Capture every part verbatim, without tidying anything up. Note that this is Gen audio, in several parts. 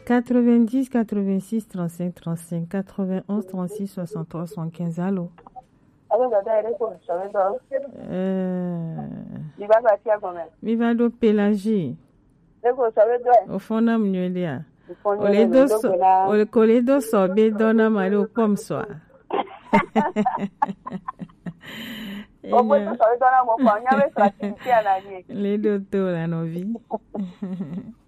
Quatre-vingt-dix, quatre-vingt-six, trente-cinq, trente-cinq, quatre-vingt-onze, trente-six, soixante-trois, soixante-quinze. Allô? Allô, dada, ere ko sɔrɔ dɔ. Euh, Mi va ba tia gɔmɛ. Mi va do Pélagie. Ere ko sɔrɔ dɔ. O fɔ na mu nyuie dia. O le do sɔ, o le ko le do sɔ be dɔ na ma le o kpɔ mu sɔ a. O gbe to sɔrɔ dɔ na mo kpɔ, nya be sɔ ti ti ana ni. Le do to la nɔvi.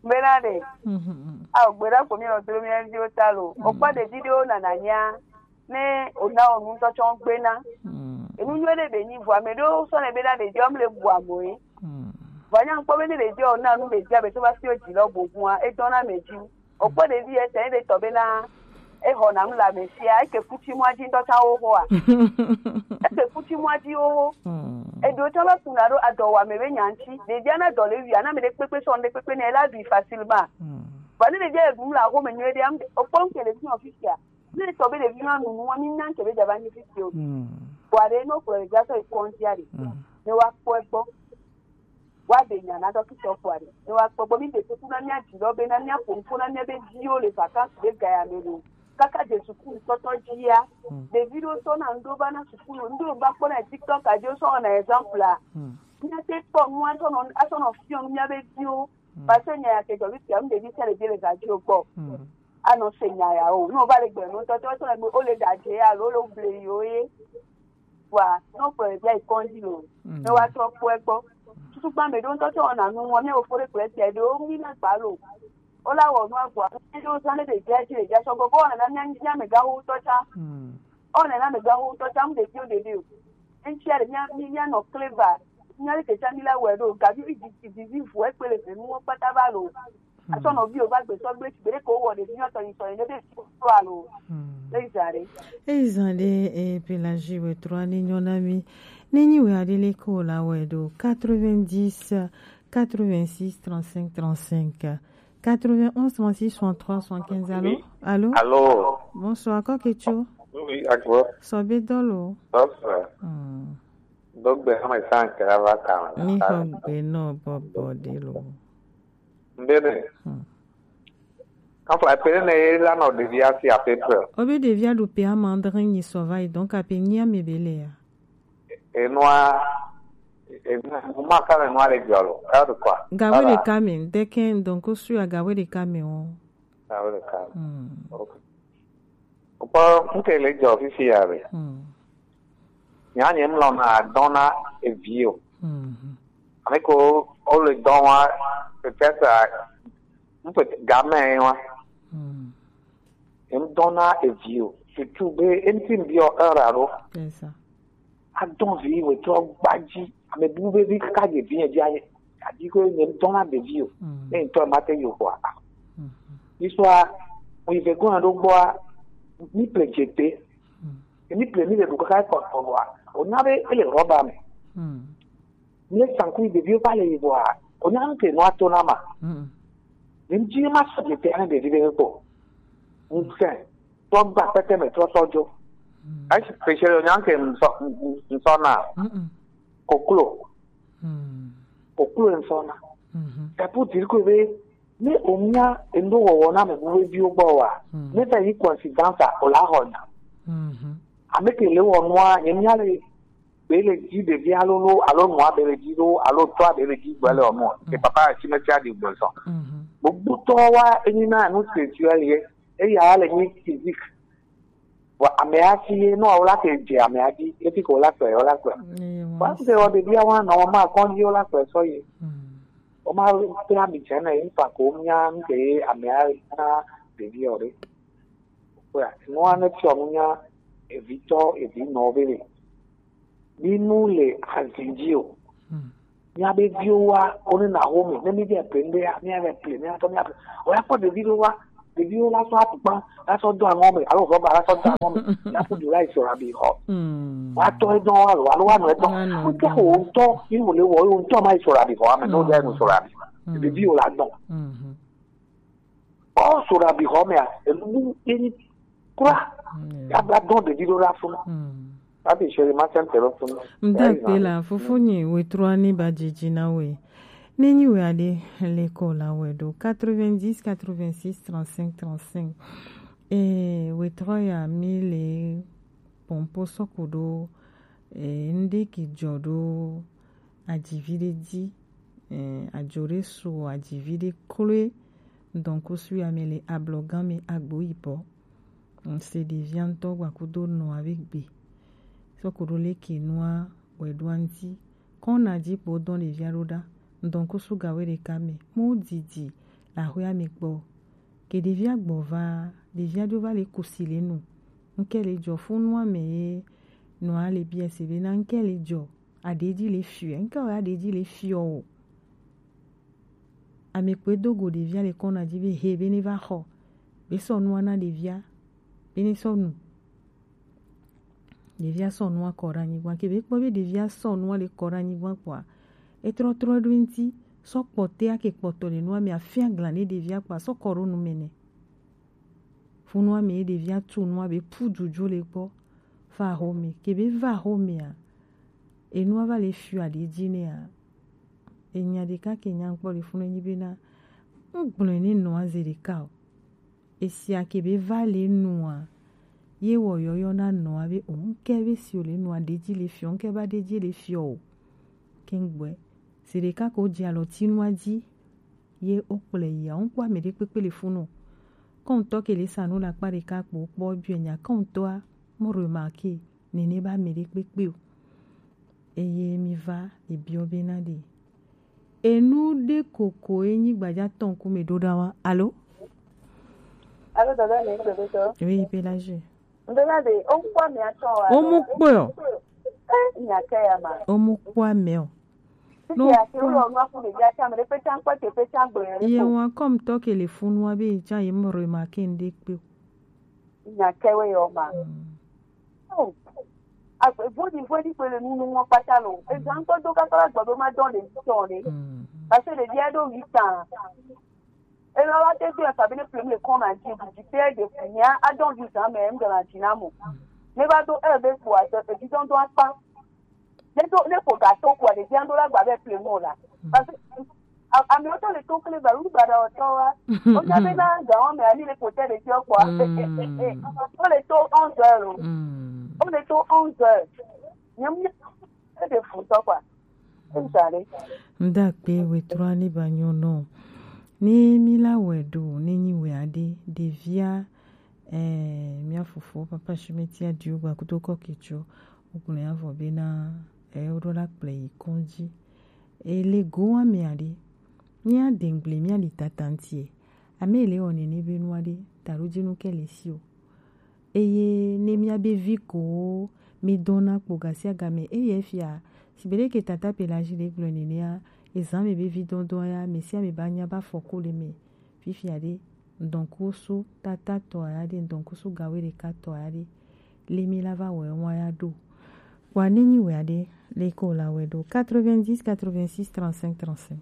Mena de. Mhm. A o gbe da ko mi o dro mi en di o ta lo. O pa de video na na nya. Ne o na o nu to chon gbe na. Mm. Enu nyuie ɖe be nyi vɔ ame ɖewo sɔ ne be na ɖeviwo mu le bu amo ye. Mm. Vɔ nya kpɔ be ne ɖeviwo na nu ɖevia be to va si o dzi lɔ gbogboa, e dɔn na ame dzi. O kpɔ ɖevi ye tɛ ne ɖe tɔ be na e xɔ na nu le ame sia, e ke kuti mɔa dzi ŋutɔ tsã wo xɔa. E ke kuti mɔa dzi wo xɔ. Mm. Eɖewo tsã va kuna ɖo adɔ wɔ ame be nya ŋuti. Ɖevia na dɔ le wia, na ame ɖe kpekpe sɔ nu ɖe kpekpe ne la ɖui facilement. Mm. Vɔ ne ɖevia e ɖum le axome nyuie ɖe, am-, o kpɔ ŋke ɖevi nɔ fifia. Ne etɔ be ɖevi ma nu nua, mi na ŋke be dza va nyi fifio. Mm. Vɔ aɖe, ne wokplɔ ɖevia sɔ yi kɔndzia ɖe, mm, ne woakpɔ egbɔ. Woaɖe nya na dɔkita kpɔ aɖe. Ne woakpɔ egbɔ, mi ɖe kuku na mia dzi lɔ be na mia ƒo nuƒo na mia be viwo le vacances be ga ya me lo. Kaka dze suku ŋutɔtɔ dzia, mm, ɖevi ɖewo sɔ na ŋɖo va na suku lo. Ŋɖo va kpɔ na TikTok a dzi, wosɔ wɔna exemple a. Mm. Mia te kpɔ nu asɔ nɔ, asɔ nɔ fiɔ nu mia be viwo. Mm. Parce que nya ya ke dzɔ fifia, nu ɖevi sia ɖevi le ga dzi o gbɔ. Mm. Anɔ se nya ya o. Ne wova le gbe nu tɔtɔ tɔ le o le da dze alo le ble yi o ye. Wa no kpɔ ɖevia yi kɔndzi lo. Mm. Ne wa trɔ kpɔ egbɔ. Tutu gba me ɖo ŋutɔ tɔ na nu wa mi o fore kple tia ɖo mi na gba lo. O la wɔ nu agba. Ne ɖo zan ne ɖevia dzi ɖevia sɔ gbɔ. Ko na na mia mia me ga wo tɔ tsa. Mm. O na na me ga wo tɔ tsa mu ɖevi o ɖevi o. Ŋtsia ɖe mia mi mia nɔ clever. Mia le ke tsa mi la wɔ ɖo. Gavi vi vi vi vi vu ekpe le ve nu wo kpata va lo. Asɔ nɔviwo va gbesɔ gble tsi gbeɖe ko wɔ ɖevi nyɔtɔ yi sɔ yi ne be fi kura lo. Hmm. Eyi zã ɖe. Eyi zã ɖe, eh, Pélagie wɛ trɔ ni nyɔ na mi. Ne nyi wɛ aɖe le ko la wɛ ɖo quatre-vingt-dix, quatre-vingt-six, trente-cinq, trente-cinq, quatre-vingt-onze, trente-six, soixante-trois, soixante-quinze. Allô? Oui. Allô? Bonsoir, kɔ ke tso? Oui, agbo. Sɔ be dɔ lo. Bonsoir. Hmm. Dogbe hame san kra va kame. Mi xɔ gbe nɔ bɔbɔ ɖe lo. Mbene. Hmm. Enfin, epele ne ye la nɔ ɖevia si à peu près. Obe ɖevia ɖo pe ama adre nyi sɔ va yi, donc ape nyi ame be le ya. Enua, enua, ma ka le nua le jɔ lo. Ɛ de quoi? Gawe de kame, de ken, donc o su ya gawe de kame o. Gawe de kame. Hmm. Ok. Kpɔ ŋke le dzɔ fifi ya be. Hmm. Nya nye mlɔ na dɔn na evi o. Hmm. Ame ko o le dɔn wa, peut-être, ŋpe game wa. Hmm. Em dɔn na evi o. Surtout be em tin bi o era ro. C'est ça. Adɔn vi wetɔ gbadzi. Ame bubu be vi kaka dze vi nye dzi anye. Adi ko nye dɔn na ɖevi o. Mm. Ne ŋutɔ ma te yo kɔa. Mm. Histoire, o yi ve gɔna ɖo gbɔa, mi ple dze te. Mm. Mi ple mi le ɖu kaka kɔ kɔ wa. O nya be ele rɔba me. Mm. Mi le sanku ɖeviwo va le yi vɔa. O nya ŋke nua to na ma. Mm. Ni dzi ma sɔ dze te ane ɖevi be kpɔ. Ŋsɛ. Tɔ gba kpɛtɛ me trɔ sɔ dzo. Mm. Esi kpeshe le nyanke ŋsɔ, ŋsɔ na. Mm-mm. Koklo. Mm. Koklo ŋsɔ na. Mm-hmm. Epu diri ko be, ne o mia endo wɔwɔ na me bu be viwo gbɔ wa. Mm. Ne ta yi coincidence a, o la hɔ nya. Mm-hmm. Ame ke le wɔ nua, ye mia le be le dzi ɖevia lolo, alo nua be le dzi lo, alo tɔa be le dzi gbe le ɔmɔ. Mm. Ke papa si me tia di gbe sɔ. Mhm. Gbogbo tɔ wa enyi na nu spirituel ye, eya le nyi physique. Wa ame asi ye, no, o la ke dze ame adi, eti ko la kpe, o la kpe. Wa se o ɖevia wa nɔ ma kɔn dzi o la kpe sɔ ye. Mm. O ma pe ami dze na ye, pa ko mia nu ke ye ame a na ɖevia o ɖe. Kpɔa, nua ne fiɔ nu nya evitɔ, evinɔ be le. Mi nu le azin dzi o. Hmm. Mia be viwo wa, wo ne na wo me, ne mi via pe ŋɖe ya, mia vɛ ple, mia tɔ mia ple. O ya kpɔ ɖevi ɖo wa, ɖeviwo la sɔ atukpa, la sɔ do aŋɔ me, alo rɔba la sɔ do aŋɔ me, la ku du la yi sɔra bi xɔ. Hmm. Wa tɔ edɔ wa lo, alo wa nɔ edɔ. Wa nɔ edɔ. Wo tɔ, yi wo le wɔ, wo tɔ ma yi sɔra bi xɔ, ame no de nu sɔra bi. Hmm. Ɖeviwo la dɔn. Hmm. Ɔ, so ɖe abixɔ mea, enu bu ye nyi kura. Mm. Ya va dɔn ɖevi ɖo ɖe afi ma. Mm. Hafi chérie, ma sɛn te ɖo fi ma. Ŋda kpe la, fofonye, wetrɔ ani ba dzidzi na we. Ne nyi wɛ aɖe le kɔ la wɛ ɖo quatre-vingt-dix quatre-vingt-six trente-cinq trente-cinq. E wetrɔ ya mi le pɔnpo sɔku ɖo e ŋɖe ki jɔ ɖo adzivi ɖe dzi. E adzo ɖe su adzivi ɖe kloe. Donc su ya mi le ablɔgan mi agbo yibɔ. Ŋse ɖevia ŋutɔ gba kudo nɔa be gbe. Sɔku ɖo le ke nua wɛ ɖo aŋti. Kɔna dzi kpo dɔn ɖevia ɖo ɖa. Ŋdɔn kusu gawe ɖeka me. Mo didi la hwea me kpɔ. Ke ɖevia gbɔ va, ɖevia ɖo va le kusi le nu. Ŋke le jɔ funu ame ye nɔa le bia se be na ŋke le jɔ. Aɖe dzi le fiɔ. Ŋke wɛ aɖe dzi le fiɔ o. Ame kpoe do go ɖevia le kɔna dzi be he be ne va xɔ. Be sɔ nua na ɖevia. Be ne sɔ nu. Ɖevia sɔ nua kɔ ɖe anyigba. Ke be kpɔ be ɖevia sɔ nua le kɔ ɖe anyigba kpɔa, etrɔ trɔ ɖo ŋti, sɔ kpɔtɛ ake kpɔtɔ le nua me afia gla ne ɖevia kpɔa, sɔ kɔ ɖo nu me nɛ. Funu ame ye ɖevia tu nua be pu dzudzo le kpɔ. Va xɔ me. Ke be va xɔ mea, enua va le fiɔ aɖe dzi nɛa, enya ɖeka ke nya kpɔ le funu enyi be na, ŋgblɔe ne nɔa ze ɖeka o. Esia ke be va le nua, ye wɔ yɔyɔ na nɔa be o ŋke be si o le nua ɖe dzi le fiɔ, ŋke ba ɖe dzi le fiɔ o. Ke ŋgbɔe. Zi ɖeka ko dzi alɔ ti nua dzi, ye o kplɔe yia, ŋkpɔ ame ɖe kpekpe le funu. Kɔntɔ ke le sa nu le akpa ɖeka kpo kpɔ biɔ nya kɔntɔa, mo remarquer, nene ba ame ɖe kpekpe o. Eye mi va ebiɔ be na ɖe. Enu ɖe koko enyi gbaja tɔn ku me ɖo ɖa wa. Alo? Alo, dada, ne gbe be tɔ. Oui, pe la je. Ndo na de, o mu kpɔ ame atɔ wa. O mu kpɔ o. Eh, nya ke ya ma. O mu kpɔ ame o. Titi no, ya ke o lɔ nu aku de ya cha me de pe cha kpɔ te pe cha gbe ya. Ye wa kɔm tɔ ke le funu wa be cha ye mo remarquer ŋɖe kpe o. Nya ke we yo ma. Mm. Oh. Agbe vodi vodi pe le nu nu mo pata lo. E zan to do ka kala gbɔ do ma dɔn le tɔ le. Mm. Parce que le dia do huit ans. E lɔ wa te do e fa be ne problem le kɔn na ji bu ji pe de fu nya a dɔn huit ans mais m de la ji na mo. Ne ba do e be kpo a se e ji dɔn do akpa. Ne to ne ko ga to ko le bien do la gba be ple mo la. Parce que a mi o to le to kle ba lu ba da o to wa. O ja be na ga o me ani le ko te le ti o ko a. O le to onze heures o. O le to onze heures. Nyam e de fu to kwa. Ndakpe wetrɔ ani ba nyɔ nɔ. Ne mi la wɛ ɖo ne nyi wɛ aɖe ɖevia. Eh, mia fofo papa Shimeti adio gba kudo kɔ ketsɔ. Wogblɔ ya vɔ bena eh woɖo la kplɔe yi kɔdzi. Ele go wa mea ɖe, mia dengble mia li tatantie. Ame ele wɔ nene be nua ɖe taɖo dzi nu ke le si o. Eye ne mia be vi ko mi dɔna kpo gasia game eye fia si be ɖe ke tata pe la zi ɖe gblɔ nenea ezan me be vi dɔdɔ ya me sia me ba nya ba fɔ ko le me. Fifia ɖe, ŋdɔnkusu tata tɔ ya ɖe, ŋdɔnkusu gawe ɖeka tɔ ya ɖe, le mi la va wɛ wa ya ɖo. Kpɔa ne nyi wɛ aɖe, le ko la wɛ ɖo quatre-vingt-dix quatre-vingt-six trente-cinq trente-cinq.